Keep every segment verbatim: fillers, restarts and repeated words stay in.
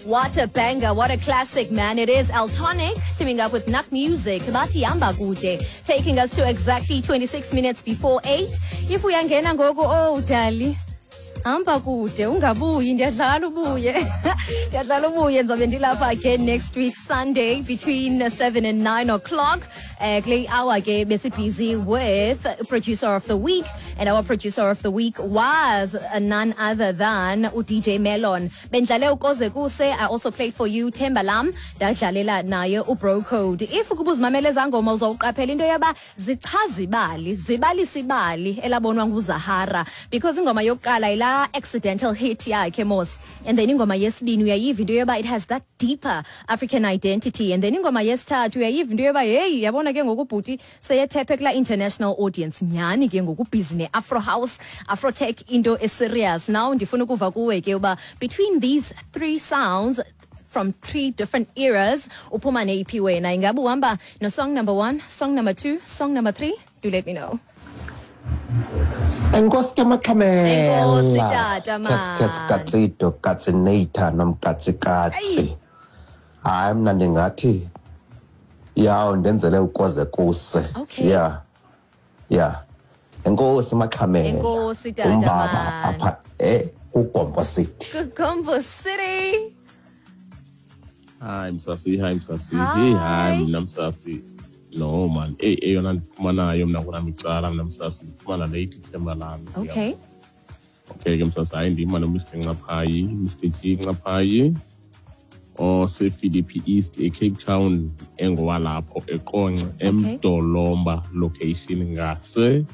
What a banger, what a classic, man. It is Eltonic teaming up with Nak Music. Bathi hamba kude, taking us to exactly twenty-six minutes before eight. If uyangena ngoku, oh dali, hamba kude, ungabuyi, ndiyadlala ubuye. Ndiyadlala ubuye, ndizobe ndilapha again next week Sunday between seven and nine o'clock. Uh, kule hour ke besi-busy with producer of the week, and our producer of the week was none other than u-D J Melon. Bendlale uKoze Kuse. I also played for you Themba Lam, ndadlalela naye uBro Code. If ukuba uzimamele zangoma, uzawuqaphela into yoba zichaza ibali, zibalisa ibali elabonwa nguZahara, because ingoma yokuqala ila accidental hit yakhe mos, and then ingoma yesibini uyayiva into yoba it has that deeper African identity, and then ingoma yesithathu uyayiva into yoba, hey, yabona ke ngoku ubhuti seyethephe kula international audience nyhani ke ngoku, busy ne-afro house, afrotech, into eserious. Now ndifuna ukuva kuwe ke uba between these three sounds from three different eras, uphuma neyiphi wena? Ingabe uhamba no song number one, song number two, song number three? Do let me know. Enkosi ke, Maxhamela. Enkosi, tata, man. Katsi katsito katsinata nomkatsi katsi. Hayi, mna ndingathi yaw ndenzele uKoze Kuse. Okay. Yeah. Yeah. Enkosi, Maxhamela. Enkosi, tata, Umbaba man. Apha eh kuGompo City. Gombo City. Hi Msasi, hi Msasi. Hi. Hey, hi mna Msasi. No man, eh eyona ndiphuma nayo mna kunami icala mna Msasi, ndiphuma nale ithi Themba Lami. Okay. Okay ke Msasi, hayi, ndima no Mister Ncaphayi, Mister G Ncaphayi ose Philippi East eCape Town, engowalapho eQonce, eMdolomba location, ngase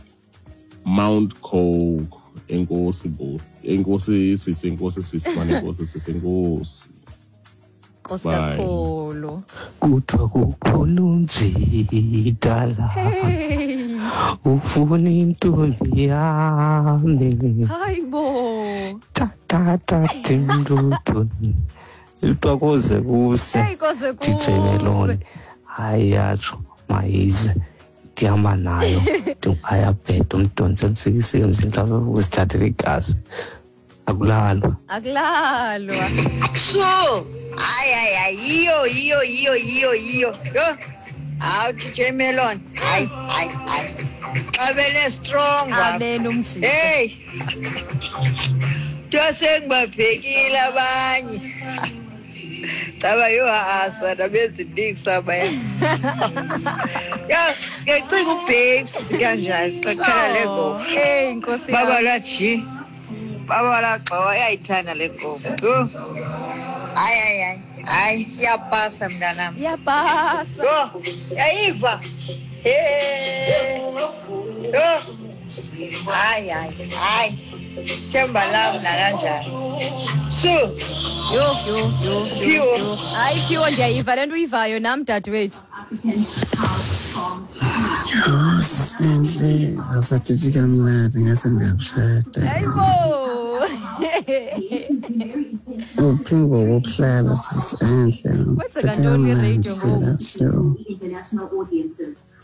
Mount Coke. Enkosi bo. Enkosi sisi, enkosi sisi, man, enkosi sisi, enkosi. Nkosi Bye. kakhulu. Kuthiwa kukhona umjidala Hey. ufuna intombi yami. Hayi bo. Tatatatimduduni, kuthiwa koze kuse. Hey, Koze D J Melon. Kuse. Hayi, yatsho mayize, ndihamba nayo, ayabheda umdontsi emsikisiki mhlawumbe ukusithathela igazi, akulalwa. Akulalwa. So, hayi hayi hayi, yiyo yiyo yiyo yiyo yiyo. Yho. Hawu, D J Melon. Hayi hayi hayi. Xabele strong baba. Amen umjita. Hey. Kuthiwa sengibabhekile abanye. Caba yo asa nabeziniksi abaya. Ya, siyacinga uBabes kanjani siqala le ngoma. Hey, Nkosi Baba yami. la ji. Baba la gxowa, iyayithanda le ngoma. Yho. Hayi hayi hayi. Hayi, iyapasa mntanam. Iyapasa. Yho, yayiva. Hey. Yho. Hayi hayi hayi. Themba lam nakanjani. So, Yho yho yho yho. Phiwo. Yho. Hayi Phiwo, ndiyayiva le nto uyivayo nam, dadewethu. Senhle, awusatshitshi kamnandi, ngase ndiyakushada. Hayibo. Uphi ngoku ukuhlala, sisi Enhle? Kwenzeka Phethe ntoni kamnandi kwiradio ngoku? sila so.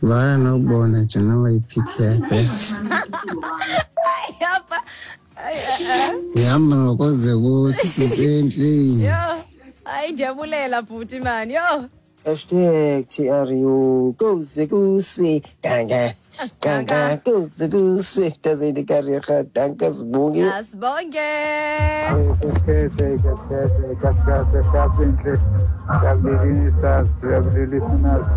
Vala nokubona nje noba yiphikhi yakho. Hayi apha. Hayi, eh, eh. Ndihamba ngokoze kuthi, sisi Enhle. Yho. Hayi, ndiyabulela bhuti man. Yho. Hashtag T R U koze kuse danka danka koze kuse tazendi karega danka sibonge. Asibonge. Kaskete, kaskete, kaskase, siyabinhle, siyabilisa, siyabilisinazi.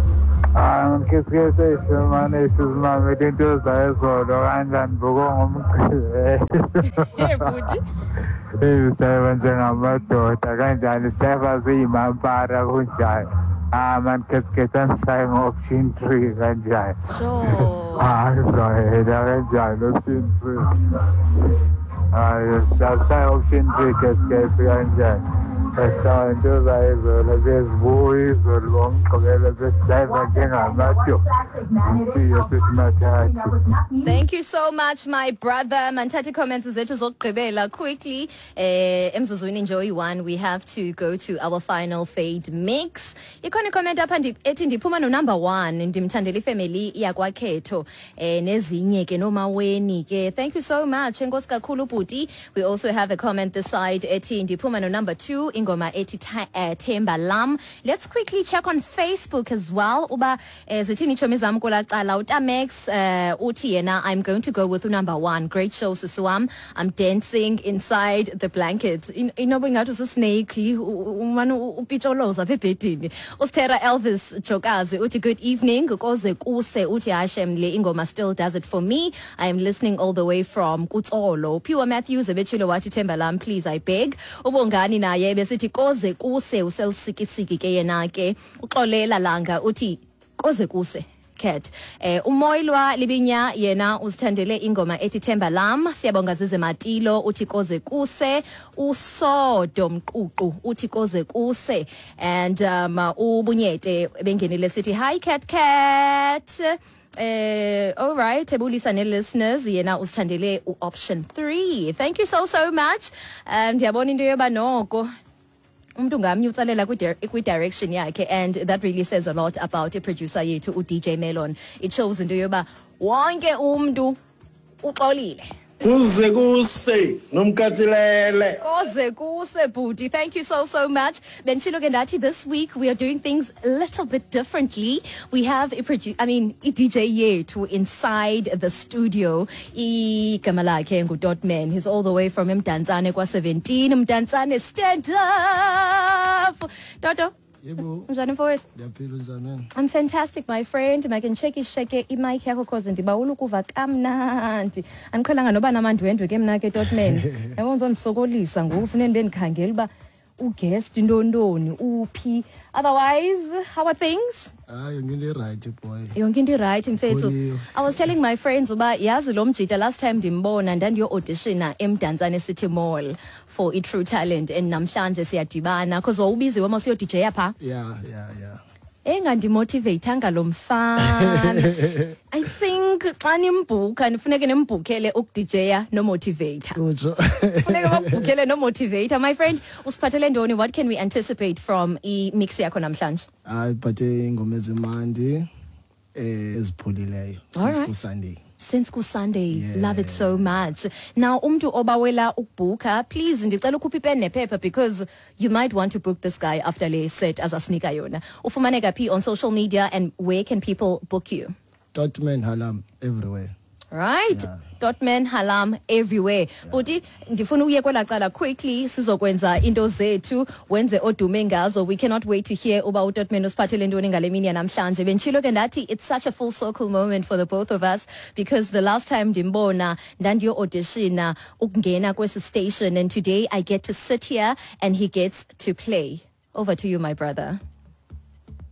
Ah, ngisikete mane sizimamele into zayizolo kanjani buko ngomgqibelo. Hey bhuti. Eh, siyayiba njengamadoda kanjani, siyayiba siyimampara kunjani. Ah man, kaskete angishaye ngo-option three kanjani. Sure. Ah, ngizoyela kanjani option three. Hayi, shaya option three, kaskete kanjani. Sashaya into zayizolo bezibuya izolo ngomgqibelo besijayiva njengamadoda. Siyo sithi mathathu. Thank you so much, my brother. Manthathe comments zethu zokugqibela quickly. Eh emzuzwini nje oyi-one, we have to go to our final fade mix. Ikhona comment apha ndi- ethi ndiphuma no number one, ndimthandela ifamily yakwaKhetho eh nezinye ke nomaweni ke. Thank you so much. Enkosi kakhulu bhuti. We also have a comment this side ethi ndiphuma no number two, ingoma ingoma ethi eh, Themba Lam. Let's quickly check on Facebook as well uba eh, zithini itshomi zam kwelaa cala. Utamex eh, uthi yena, "I'm going to go with number one. Great show, sisi wam. I'm dancing inside the blankets." In- inoba ingathi usisnake, umane upitsholoza apha ebhedini. Ustera Elvis Jokazi uthi, "Good evening, koze kuse." Uthi, "Hashem, le ingoma still does it for me. I am listening all the way from Kutsolo." Piwa Matthews ebetshilo wathi, "Themba Lam, please, I beg." Ubongani naye besithi koze kuse, uselusikisiki ke yena ke. Uxolela Langa uthi koze kuse cat. Eh umoyilwa Libinya yena uzithandele ingoma ethi Themba Lam. Siyabonga Zize Matilo uthi koze kuse. Usodo Mququ uthi koze kuse. And um ubunyete bengenile sithi, "Hi cat cat." Eh all right, ebulisa ne listeners, yena uzithandele u-option three. Thank you so so much. Um ndiyabona into yoba noko umuntu ngamnye utsalela kwi-direction yakhe, and that really says a lot about i-producer yethu u-D J Melon. It shows into yoba wonke umntu uxolile. Kuze kuse nomkatsilele. Koze kuse, bhuti. Thank you so so much. Benditshilo ke ndathi this week we are doing things a little bit differently. We have a produ I mean, i-D J yethu inside the studio. Igama lakhe nguDotman. He's all the way from Mdantsane kwa seventeen. Mdantsane, stand up. Toto. Yebo. Njani, mfowethu? Ndiyaphila, unjani wena? I'm fantastic, my friend. Make ndisheke isheke imic yakho cause ndibawula ukuva kamnandi. Andiqhelanga noba namandwendwe ke mna ke, Totman. Yabo, ndizondisokolisa ngoku, funeka ndibe ndikhangela uba uguest ntontoni uphi. Otherwise, how are things? Hayi, yonke into irayithi, boy. Yonke into irayithi, mfethu. Kuliwe. I was telling my friends uba yazi lo mjita, last time ndimbona ndandiyo-auditiona eMdantsane City Mall for i-True Talent, and namhlanje siyadibana because wawubiziwe ma usiyo-D J phaa. Yeah, yeah, yeah. Engandimotivatanga lo mfana. I think xa nimbhukha nifuneke nimbhukhele ukudija nomotivator. Utsho. Funeke bakubhukhele nomotivator. My friend, usiphathele ntoni? What can we anticipate from i-mix yakho namhlanje? Hayi, phathe ingoma ezimandi eh ezipholileyo All since right. ku-Sunday. Since ku-Sunday. Yeah. Love it so much. Now, umntu obawela ukubhukha, please, ndicela ukhuphe ipen nephepha because you might want to book this guy after le set azasinika yona. Ufumaneka phi on social media and where can people book you? Dotman Halam everywhere. Right. Yeah. Dotman Halam everywhere. Buti, ndifuna uye kwelaa cala quickly, sizokwenza into zethu, wenze odume ngazo. We cannot wait to hear uba uDotman usiphathele ntoni ngale mini yanamhlanje. Benditshilo ke ndathi it's such a full circle moment for the both of us because the last time ndimbona ndandiyo-auditiona ukungena kwesi station, and today I get to sit here and he gets to play. Over to you, my brother.